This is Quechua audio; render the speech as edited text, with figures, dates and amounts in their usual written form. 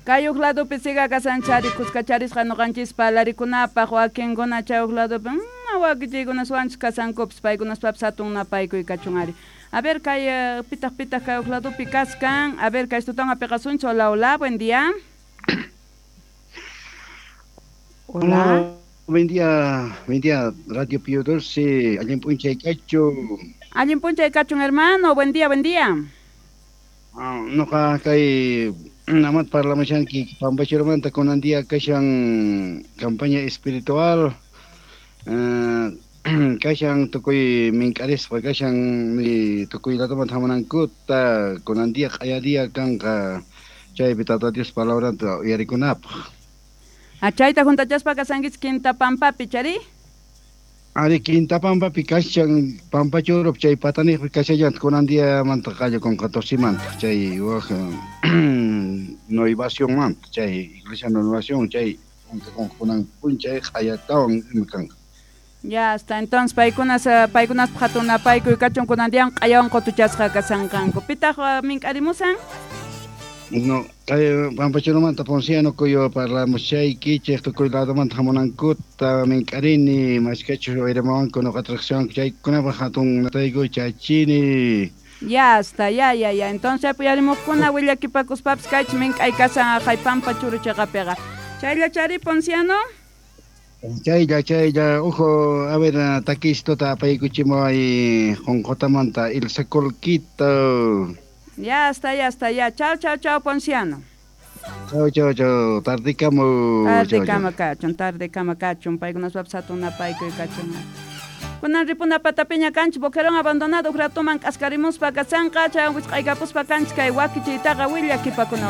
Kay huk ladopi siga kasanchari kuskacharisqa ñuqanchispa alarikunapaq wakinkuna chay huk ladopi wakichiykunaswanchus kasankupis paykunaspapis hatun napaykuy kachun ari. A ver kay pitaq pitaq kay huk ladopi kaskan. A ver kay tutan apiqasunchis. Hola, hola, buen día. Hola. Buen día, Radio Pío Dulce, allin p'unchay kachun. Allin p'unchay kachun, hermano, buen día, buen día. Noqa kay namat parlamushanki Pampachurumanta kunan día kashan campaña espiritual, kashan tukuy mink'arisqa kashan tukuy ladomanta hamunankuta kunan día q'aya día kanqa chaypi Tata Dios palabranta uyarikunapaq. Chayta juntachaspa kasankichik Quinta Pampapi, chari? Ari Quinta Pampapi kashan Pampachurup chay pataniqpi kashallanta kunan diamanta qallakunqa tosimanta chay waq Nuevacionmanta chay Iglesia Nuevación chay kunan p'unchay q'ayatawan ima kanqa. Ya hasta entonces paykunas paykunaspaq hatun napaykuy kachun kunan dian q'ayawan qutuchasqa kasanqanku. Pitaq mink'arimusan? No, kay Pampachurumanta Ponciano kuyo parlamushaykichik tukuy ladomanta hamunankuta mink'arini mashkachus uyarimuwanku nuqata riqsiwanku chaykunapaq hatun nataykuy chachini. Ya está, ya, ya, ya. Entonces uyarimuqkuna willakipakuspapis kaychik mink'ay kasan haqay Pampachuru chiqapiqa. Chaylla chari Ponciano? Chaylla, chaylla, ojo, a ver, takistota apaykuchimuway Qunqutamanta Ilsa Colquito. Ya está, ya está, ya. Chao, chao, chao, Ponciano. Chao, chao, chao. Tardikama. Tardikama kachun, tardikama kachun. Paykunaspapis hatun napaykuy kachun. Kunan ripuna patapiña kanchik boquerón abandonado ratoman k'askarimuspa kasanqa chaywan wisq'aykapuspa kanchik kay wakichiytaqa willakipakuna.